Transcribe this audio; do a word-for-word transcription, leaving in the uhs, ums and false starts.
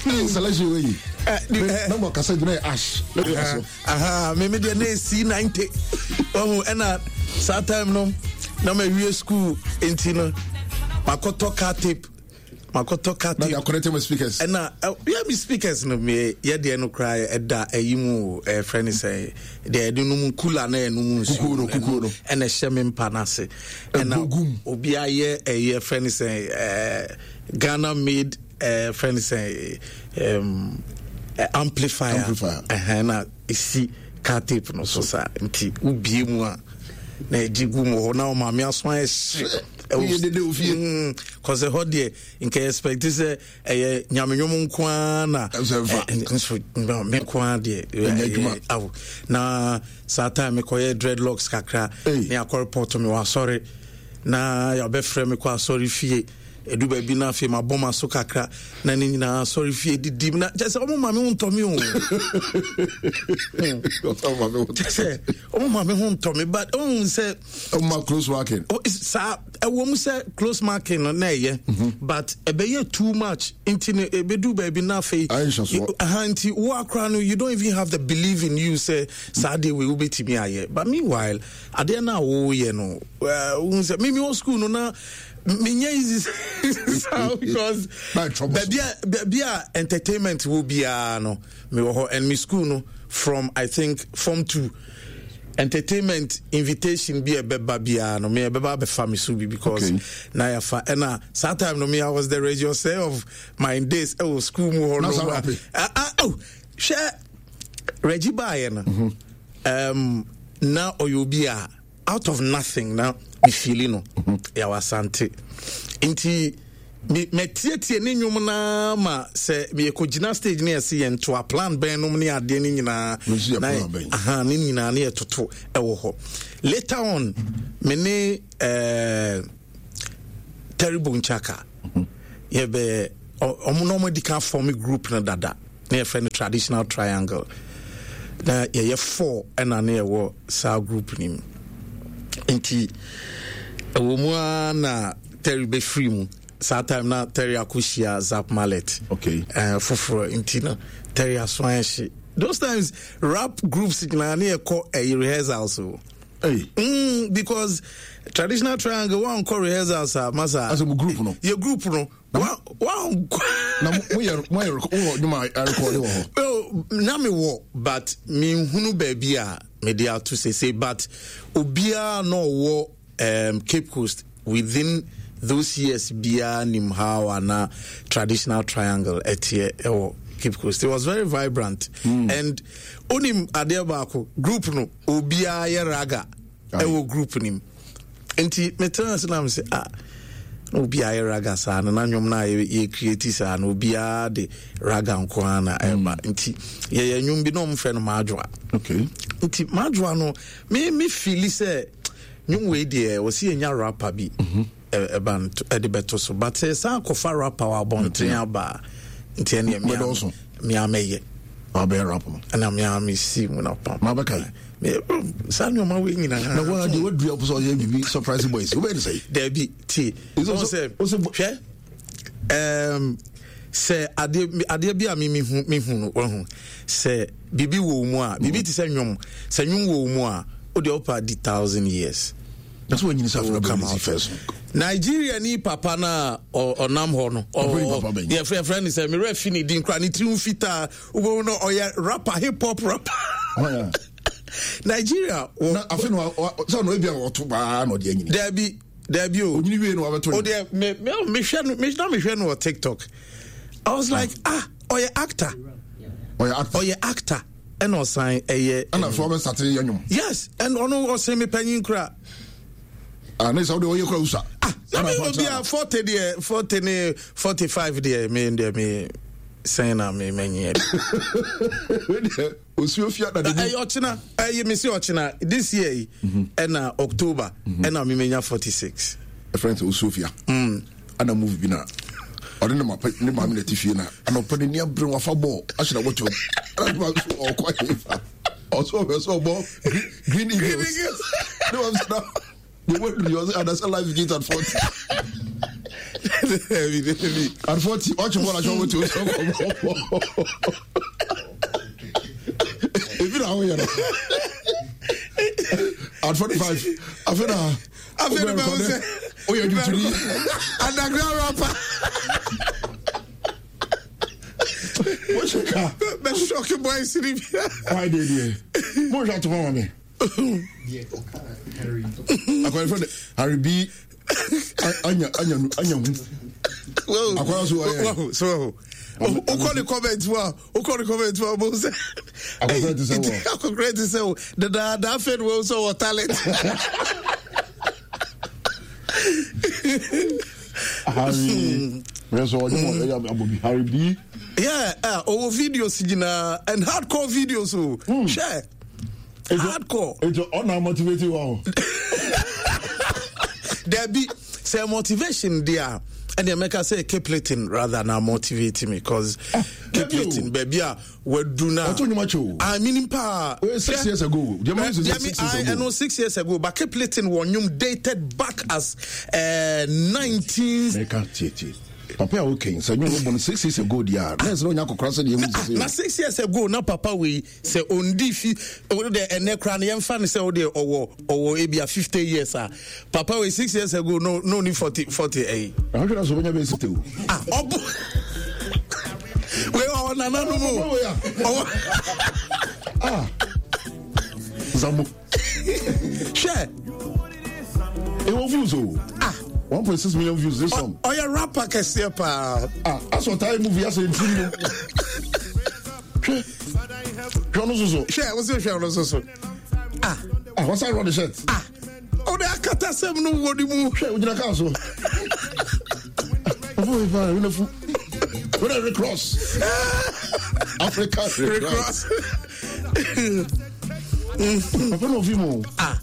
Selection wei na mo kasa gyina yɛ ash. Aha, me me deɛ na C ninety. Ɔhu ɛna saa time no na ma wie school nti no makɔtɔ car tape, makɔtɔ car tape. Na connect my speakers. Ɛna yɛ mi speakers no mi yɛ deɛ no koraa ɛda ɛyi mu, ɛfrɛ ne sɛ deɛ ɛde no mu cooler na ɛno mu nsuo. Kukuo no, kukuo no. Ɛna ɛhyɛ mi mpa n'ase. Ɛna obi ayɛ ɛyɛ frɛ ne sɛ ɛɛ Ghana made ɛɛ frɛ ne sɛ ɛɛm amplifier. Amplifier. Ɛhɛn, na esi car tape no so saa, nti wobie mu a na ɛgye gu mu hɔ na ɔmaame aso ayɛ hye. Woyɛ dede wɔ fie. Kɔsɛ hɔ deɛ nka expect sɛ ɛyɛ nyamenwom nko ara na nso me nko ara deɛ ɛnyɛ adwuma. Awo na saa time mekɔyɛ dreadlocks kakra ne akɔ report me wɔ asɔre na yɛabɛfrɛ me kɔ asɔre fie. Ɛdu baabi no afei mabɔ ma so kakra na ne nyinaa asɔre fie didim na kyɛ sɛ ɔmo ma me ho ntɔ me o, kyɛ sɛ ɔmo ma me ho ntɔ me, but ɔhu sɛ ɔmo close marking. Saa ɛwɔ mu sɛ close marking no na ɛyɛ, but ɛbɛyɛ too much nti no ɛbɛdu baabi na afei aha nti wo akora no, you don't even have the belief in you sɛ saa adeɛ wei wobɛtumi ayɛ. But meanwhile adeɛ no a woyɛ no, wohu sɛ mimi wɔ school no na menyɛ easy saa because baabi a baabi a entertainment wɔ biara no mewɔ hɔ. And me school no, from I think form two, entertainment invitation bi a ɛbɛba biara no me ɛbɛba abɛfa me so bi because okay. Na yɛfa ɛna saa time no me, I was the regisseur of my days ɛwɔ school mu hɔ no. Ah ah, oh, hwɛ, Reggie baayɛ no, um, na ɔyɛ obi a out of nothing na me feeli no yɛwɔ Asante nti mɛtietie ne nnwom naa ma sɛ yɛkɔgyina stage ne yɛse yɛntoa plan bɛn nom ne adeɛ no nyinaa na aha ne nyinaa ne yɛtoto ɛwɔ hɔ. Later on me ne eh, Terry Bonchaka yɛbɛ ɔmo na ɔmo adi kan form group no dada na yɛfrɛ no Traditional Triangle na yɛyɛ four, ɛna ne yɛwɔ saa group no mu. Nti ɛwɔ mu ara na Terry bɛfiri mu. Saa time na Terry akɔhyia Zap Mallet okay. uh, foforɔ nti no Terry aso ayɛ hye. Those times rap groups nyinaa ne yɛkɔ ɛyɛ rehearsals o. Hey. Mm, because Traditional Triangle wankɔ rehearsals a, masa. Asɛ mo group no. Yɛ group no wankɔ. Na moyɛ moyɛ wowɔ nnwuma arekɔde wɔ hɔ? Oh, na mewɔ, but menhunu baabi a mede ato sese, but obiara na ɔwɔ um, Cape Coast within those years biara nim how ana Traditional Triangle ɛteɛ ɛwɔ Cape Coast. It was very vibrant mm. and onim adeɛ baako, group no obiara yɛ ragga ɛwɔ group nim. Nti metena ase na mesɛ, ah, na obiara yɛ ragga saa no na nnwom no a yɛ create saa no obiara de ragga nko ara na ɛba. Nti yɛyɛ nnwom bi na ɔmfrɛ no Maadwoa. Okay. Nti Maadwoa no me me feeli sɛ nnwom wei deɛ wɔsi yɛnya rapper bi ɛba ɛde bɛto so, but sɛ san akɔfa rapper wɔ abɔnten aba a, nti ɛneɛ mea mea mɛyɛ. Wabɛyɛ rap no. Ɛna mea mesi mu na pam. Mabɛka saa nneɛma wei nyinaa. Na wɔn adeɛ wadua sɛ ɔyɛ biribi Surprise Boys, wobɛyɛ ne sɛ? Daabi, tie, ɔn sɛ hwɛ, um, sɛ adeɛ adeɛ bi a mi mi hu mi hu no, wahu sɛ biribi wɔ mu a, biribi te sɛ nnwom, sɛ nnwom wɔ mu a, o deɛ ɔpa di thousand years. Na sɛ wanyini sɛ afei bɛyɛ ne first. Nigeria ni papa na ɔnam hɔ no, yɛfrɛ yɛfrɛ ne sɛ mmerɛ fi ne din kora, ne tiri ho fitaa, wobɛhu no ɔyɛ rapper, hip hop rapper Nigeria. Wɔ na afei no sɛ ɔno ebi a ɔto baa na ɔde anyini. Daabi, daabi o. Onyini wie na wabɛto. O deɛ me me mehwɛ no, me na mehwɛ no wɔ TikTok, I was like, ah, ɔyɛ actor. Ɔyɛ actor. Ɔyɛ actor ɛna ɔsan ɛyɛ. Ɛna so ɔbɛ sate yɛ nwom. Yes, ɛna ɔno ɔsɛn mi panyin kura. Ah, ne sɛ wode ɔyɛ kura wusa. Ah, na mi obi a forty deɛ, forty ne forty five deɛ, mi deɛ mi sɛn na mi mɛ nyiɛ. Osuo fia na de. Ɛyɛ ɔkyena, ɛyɛ mi si ɔkyena this year yi, ɛna October ɛna mi menya forty six. Ɛfrɛ sɛ osuo fia. Ana movie bi na ɔne ne mapa ne maame na ti fie na anɔpɛ ne ni abere wafa bɔɔl ahyɛ na wɔtɔm ɛna ne maame so ɔkɔ ahefa ɔso ɔbɛ so ɔbɔ Green Eagles ne maame so na the word yɛ ɔsɛ adasa life begins at forty. Dabi, dabi. At forty, ɔkye bɔɔl ahyɛ ɔmo ti o sɛ ɔkɔ bɔ. Ebi na ahoyɛ no. At forty five, afei na. Afei na bɛwo sɛ. Oyɛ dwuturi. Underground rapper. Wohyɛ ka. Bɛ shock boys ni bi. Why dey there? Mo hwɛ atoma ma me. Akɔyɛ fɛ de Harry B anya anya anya hu. Akɔyɛ so ɔyɛ. So wokɔ ne comment mu a, wokɔ ne comment mu a, wobɛhu sɛ Akɔkora te sɛ wɔ. Akɔkora te sɛ wo dedaada. Afei ne wahu sɛ wɔ talent. Harry. Mɛ sɛ ɔnyɛ mɔ ɛyɛ abɔ bi Harry B. Yeah, uh, ɔwɔ videos nyinaa and hardcore videos o. Hwɛ, hardcore. Etu ɔna motivate wa o. Dabi, sɛ motivation deɛ a, ɛdeɛ mɛka sɛ Capleton rather na motivate me, 'cause Capleton, baabi a wadu na Ɔtɔ nnwuma kyɛ o. I mean paa. Wait, six years ago. Deɛ ma sɛ six years ago. Ɛno six years ago, but Capleton wɔ nnwom dated back as uh, nineteen Mɛka tietie. Papa a wokan sɛ nnwom bɔ no six years ago deɛ a, na ɛsɛ sɛ ɔnya akɔkora sɛ deɛ ɛmu sisi. Na six years ago na papa wei sɛ ondi fi o de, ɛnɛ kora no yɛmfa no sɛ wode ɔwɔ ɔwɔ ebia fifty years a, papa wei six years ago no no ni forty forty ɛyi. Na wohwɛ na sɛ ɔbɛnya bɛyɛ sixty o. Ah, ɔbo wei ɔwɔ nananom o. Papa wei a. Ɔwɔ Ah. Zambo. Hwɛ. Ɛwɔ views o. Ah. one point six million views this song. Ɔyɛ rapper kɛseɛ paa. Ah, asɔ taa movie asɛ ntiri no. Hwɛ. Hwɛ ɔno soso. Hwɛ, wo sɛ hwɛ ɔno so so ah. Ah, wɔsan rɔ the shirt. Ah, ɔde akata sɛm no wɔ ne mu. Hwɛ, ogyina kaa so. Papa wei paa, wei na fu. Wei na Rick Ross. Africa Rick Ross. Rick Ross. Papa na ofi mu. Ah.